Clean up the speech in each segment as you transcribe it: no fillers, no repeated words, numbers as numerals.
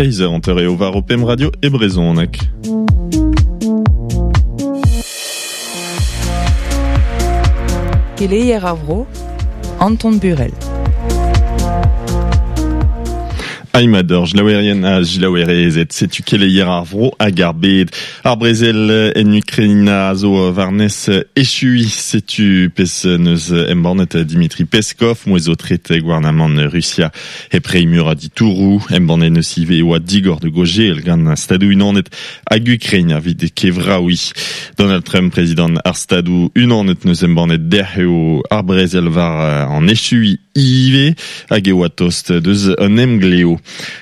Eizh eur hanter eo war ho pemp radio e brezhoneg. Keleier ar vro, Anton Burel. Aimador, jlaouerien ha jilaouerezed, setu keleier ar vro hag ar bed. Ar brezel en Ukraina a zo warnes echuiñ, setu pezh neus embannet Dimitri Peskov, mouezh o tret gouarnamant Rusia. Hep reiñ meur a ditouroù, embannet neus ivez e oa digor da gaozeal gant Stadoù-Unanet hag Ukraina evit kevraouiñ. Donald Trump, prezidant ar Stadoù-Unanet, neus embannet dec'h eo ar brezel war an echuiñ ivez hag e oa tost deus un emglev.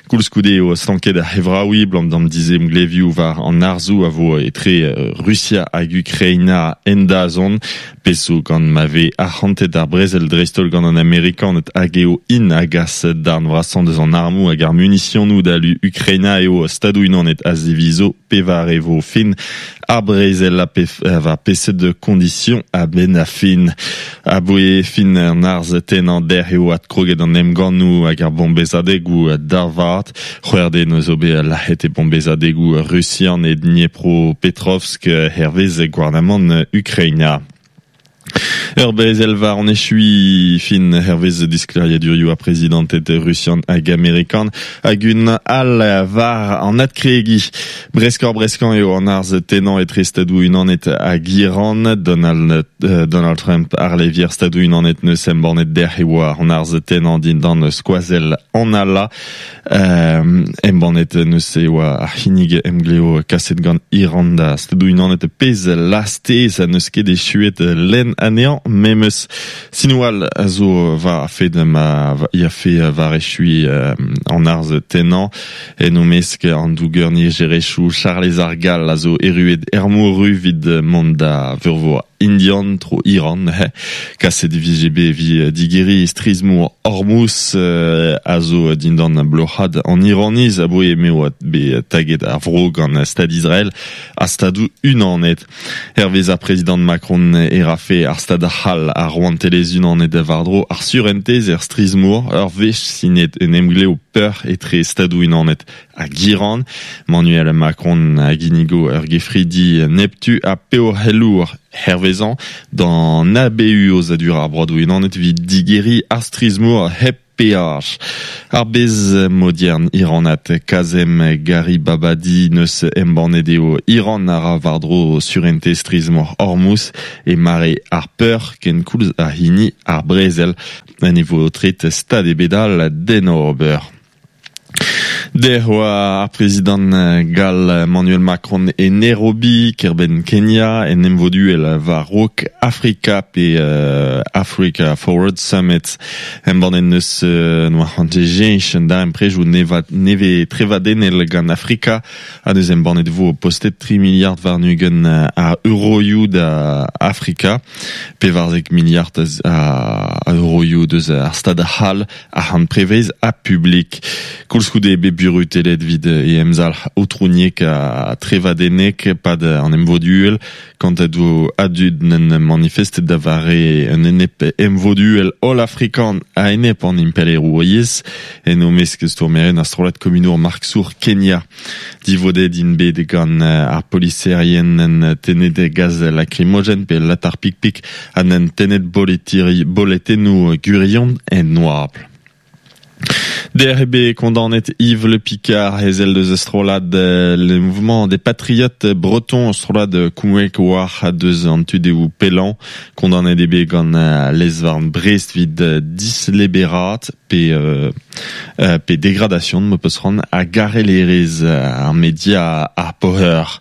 Koulskoude eo stanket ar c'hevraouiñ 'blam d'an dizemglevioù war an harzoù a vo etre Rusia hag Ukraina en dazont. Pezh zo gant ma vez arc'hantet ar brezel dreist-holl gant an Amerikaned hag eo int a gas darn vrasañ deus an armoù hag ar munisionoù da lu Ukraina eo Stadoù-Unanet a zivizo pevare vo fin ar brezel ha war peseurt kondision a-benn ar fin. Aboe fin an arz tennañ dec'h eo adkroget an emgannoù hag ar bombezadegoù da vat. C'hwec'h den zo bet lazhet e bombezadegoù rusian e Dniepropetrovsk hervez gouarnamant Ukraina. Ur brezel war an echuiñ fin hervez disklêriadurioù ar prezidanted rusian hag amerikan hag un all war an adkregiñ. Breskoc'h-breskañ eo an arz tennañ etre Stadoù-Unanet hag Iran. Donald, Donald Trump ar levier Stadoù-Unanet neus embannet dec'h e oa an arz tennañ dindan skoazell an Allah. Embannet neuze e oa ar c'hinnig emglev kaset gant Iran da Stadoù-Unanet pezh lastez ha n'eus ket echuet lenn anezhañ memes. Sinoù all a zo war ar fed ma yafe war echuiñ an arz tennañ. En o mesk an douger nijerezhioù Charlez ar Gall a zo erruet er mor-ru evit mont da veurvor Indian tro Iran neuze. Kaset e vije bet evit digeriñ strizh-mor Hormuz a zo dindan bloc'had an Iraniz aboe m'eo bet taget ar vro gant Stad Israel ha Stadoù Unanet. Hervez ar prezidant Macron e rafe ar Stad c'hall ar Rouantelezh-Unanet war-dro ar surentez er strizh-mor ur wech sinet un emglev peuc'h etre Stadoù-Unanet hag Iran. Manuel Macron a ginnigo ur gefridi neptu ha peoc'helour hervezañ d'an ABU aozadur ar Broadoù-Unanet evit digeriñ ar strizh-mor hep peaj. Ar bez modiern iranat Kazem Garibabadi neus embannet eo Iran a ra war-dro surentez strizh-mor Hormuz e mare ar peur kenkoulz ha hini ar brezel. Ne vo aotret stad ebet all d'en ober. Dec'h oa ar prezidant gall Emmanuel Macron e Nairobi, kêr-benn Kenya, en emvoduel war-raok Afrika pe Africa Forward Summit. Embannet neus noa c'hoant cheñch an darempredoù nevez trevadennel gant Afrika ha neuze embannet vo postet tri miliard warn-ugent a euroioù da Afrika, 14 miliard a euroioù deus ar Stad c'hall. Arc'hant prevez ha publik. Koulskoude eo bet burutellet evit e emzalc'h aotrouniek ha trevadennek pad an emvod-uhel. Kantadoù a dud n'en manifestet da vare un enep emvod-uhel holl-afrikan a-enep an impalaerouriezh. En o mesk stourmerien ar strollad komunour marksour Kenya. Divodet int bet gant ar poliserien en tennet gaz lakrimogen pe latar pik-pik ha n'en tennet boletennoù gwirion en oabl. Dec'h eo bet kondaonet Yves Le Picard, ezel deus strollad Le Mouvement des Patriotes Bretons, strollad koumoek war deus an tu-dehoù pellañ. Kondaonet eo bet gant lez-varn Brest evit disleberaat pe pe dégradation ma peus c'hoant ha garellerezh ar media ar Poher.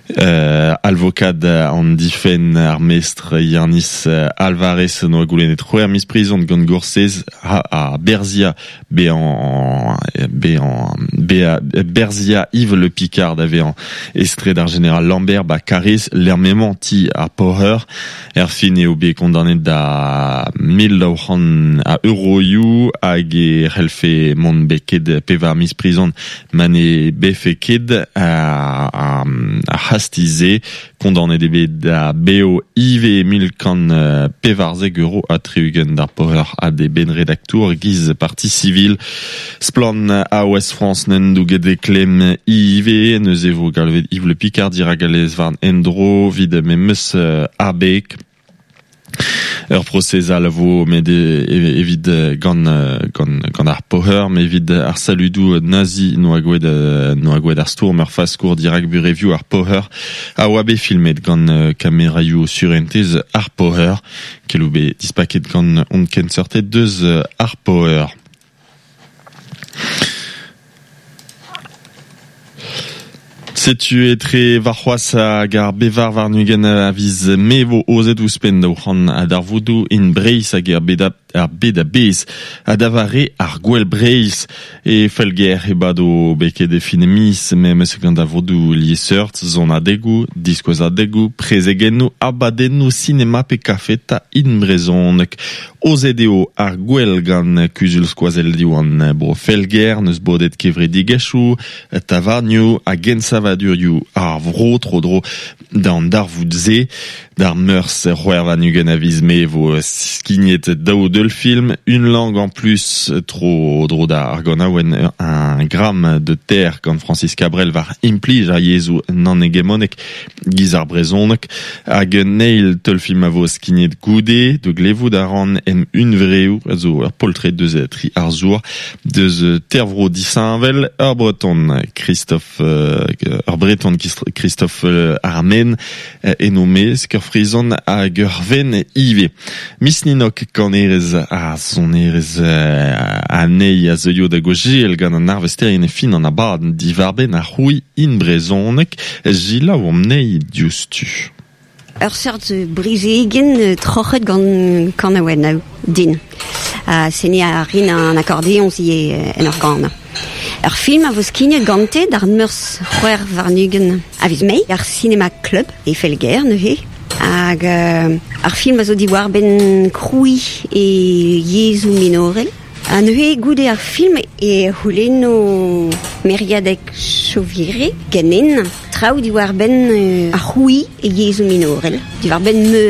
Alvokad an difenn ar mestr Yanis Alvarez noa goulennet c'hwec'h miz prizon gant Gorsez ha Berzia bezañ bezañ Berzia Yves Le Picard da vezañ estret ar jeneral Lambert ba Kariz lec'h m'emañ ti ar Poher. Erfin eo bet kondaonet da 1200 a euroioù hag e c'hellfe mont beket pevar miz prizon ma ne befe ket ar c'hastiz-se. Kondaonet eo bet da baeo ivez 1,114 euro ha 60 d'ar Poher ha d'e bennredaktour giz parti civil. Splann a Ouest France n'en douget e klemm ivez, neuze e vo galvet Yves Le Picard dirak al lez-varn en-dro 'vit memes abeg. Ur prosez all a vo met evit gant gant gant ar Poher, met evit ar saludoù nazi n'oa gwelet n'oa gwelet ar stourm ur faskour dirak burevioù ar Poher a oa bet filmet gant kameraioù surentez ar Poher. Keloù bet dispaket gant hon kenseurted deus ar Poher. Setu etre warc'hoazh hag ar bevar warn-ugent a viz Mae vo aozet ouzhpenn 200 a darvoudoù en Breizh hag er bed ar bed a-bezh ha da vare ar Gouel Breizh. E Felger e bado beket e fin miz memes gant darvoudoù liesseurt, sonadegoù, diskouezadegoù, prezegennoù, abadennoù sinema pe kafeta in brezhoneg. Aozet eo ar gouel gant Kuzul Skoazell Diwan Bro Felger, n'eus bodet kevredigezhioù, tavarnioù hag ensavadurioù ar vro tro-dro d'an darvoud-se. D'ar Meurzh 26 a viz Mae e vo skignet daou deulfilm, Une langue en plus tro-dro d'ar ganaouenn Un gramme de terre gant Francis Cabrel war implij ar yezhoù nann-hegemonek giz ar brezhoneg hag un eil teulfilm a vo skignet goude da glevout a ran em hunvreoù a zo ur poltred deus tri arzour deus tervro disheñvel ur breton Christophe ur breton Christophe Armen en o mesk ur frizon hag ur venn ivez Miss Ninok kanerez ha sonerez anezhi a zeuio da gaozeal gant an arvesterien e fin an abadenn diwar-benn ar c'hrouiñ in brezhoneg selaouomp anezhi diouzhtu. Ur seurt brezegenn troc'het gant kanaouennoù din. Ha seniñ a rin an akordeoñs ivez en ur ganañ. Ur film a vo skignet gante d'ar Meurzh 26 a viz Mae ar Cinema Club e Felger neuze. Hag ar film a zo diwar-benn krouiñ e yezhoù minorel. Ha neuze goude ar film e c'houlenno Meriadeg Chauviré ganin traoù diwar-benn ar c'hrouiñ e yezhoù minorel, diwar-benn ma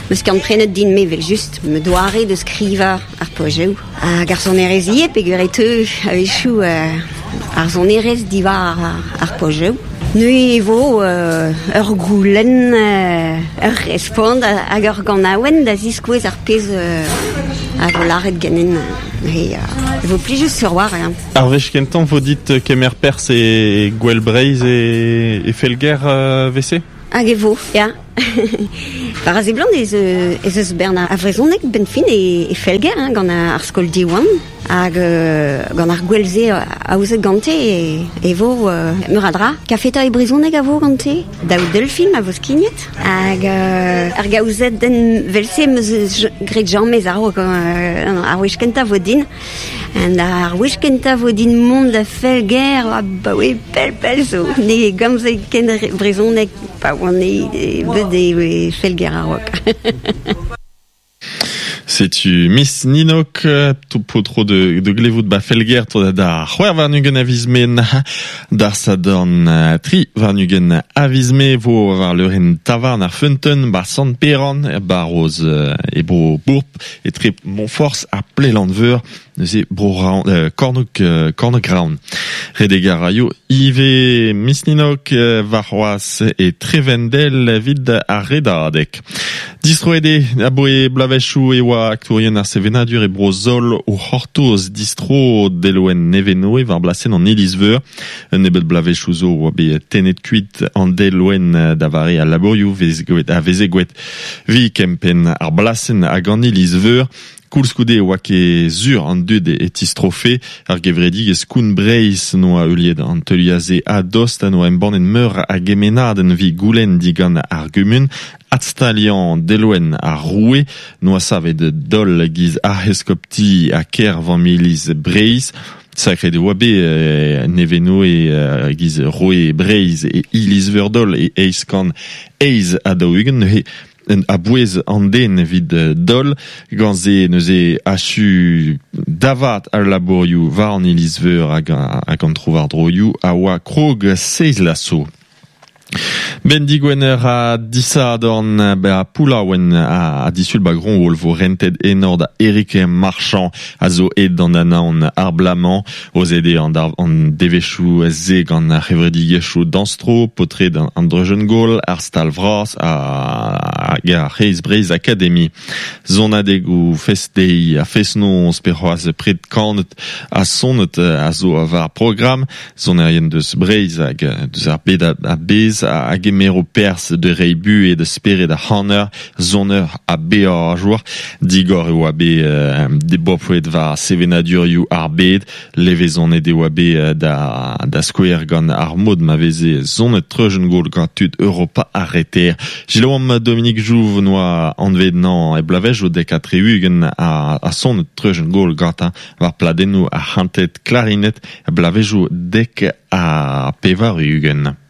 'meus skiant-prenet din-me evel-just, ma doare da skrivañ ar poajoù. Hag ar sonerezh ivez peogwir e teu a-wechoù ar sonerezh diwar ar poajoù. Neuze e vo ur goulenn, ur respont hag ur ganaouenn da ziskouez ar pezh a vo lâret ganin. E vo plijus sur war. Ar wech kentañ vo dit kemer perzh e Gouel Breizh e Felger 'vese? Hag e vo, ya. War a seblant ez, ez eus bern a vrezhoneg benn fin e, e Felger hein, gant ar skol Diwan hag gant ar gouel-se aozet gante e, e vo meur a dra. Kafeta e brezhoneg a vo gante, daou deulfilm a vo skignet hag ar gaouzed den 'vel-se 'm eus graet james a-raok ar wech kentañ 'vo din. Ar wech kentañ 'vo din mont da Felger abaoe pell-pell zo. Ne gomze ken brezhoneg pa oan bet e Felger a-raok. Setu Miss Ninok, paotr de, de glevout ba Felger da c'hwec'h warn-ugent a viz Mae d'ar Sadorn 23 a viz Mae vo war leurenn tavarn ar Feunteun ba Sant-Peran er barroz e bro Bourp Etre Moñforzh ha Plelann-Veur, neuze bro Kornôg Kornôg-Raon. Redek a raio ivez Misninok warc'hoazh e Trevendel evit ar redadeg. Distroet eo aboe bloavezhioù e oa aktourien ar sevenadur e Bro-Zol o c'hortoz distro delwenn Nevenoe war blasenn an Iliz-Veur. Un nebeud bloavezhioù zo oa bet tennet kuit an delwenn da vare al labourioù a veze gwelet Vi kempenn ar blasenn hag an iliz-veur. Koulskoude e oa ket sur an dud e tistrofe. Ar gevredigezh Koun Breizh 'noa heuliet an teuliad-se a-dost ha 'noa embannet meur a gemennadenn evit goulenn digant ar gumun adstaliañ delwenn ar roue 'noa savet Dol giz arc'heskopti ha kêr vamm-iliz Breizh. Sakret e oa bet Nevenoe giz roue Breizh e iliz-veur Dol e 848 neuze a-bouez an den evit Dol. Gant se neuze achu da vat al labourioù war an iliz-veur hag an trowardroioù a oa krog seizh laso. Ben digwener a disadorn ba Poulaouen a disul ba Gronwol vo rentet enor da Eric Marchand a zo aet d'an anaon ar blamañ o zede an, an devezhioù se gant ar c'hevredigezhioù dañstro, paotred an Dreujenn-Gaol, ar stal vras hag ar C'hreiz Breizh Academy. Sonadegoù fest-deiz ha fest-noz pe c'hoazh pred kanet ha sonet a zo war programm. Sonerien deus Breizh hag deus ar bed a-bezh a gemero perzh da reiñ buhez da spered ar c'haner, soner ha beajour. Digor e oa bet debopred war sevenadurioù ar bed. Levezonet e oa bet da, da skouer gant ar mod ma veze sonet treujenn-gaol gant tud Europa ar Reter. Selaouomp Dominique Jouve noa anvet nañ e bloavezhioù 70 ha sonet treujenn-gaol gantañ war pladennoù ar c'hanted klarinet bloavezhioù 90.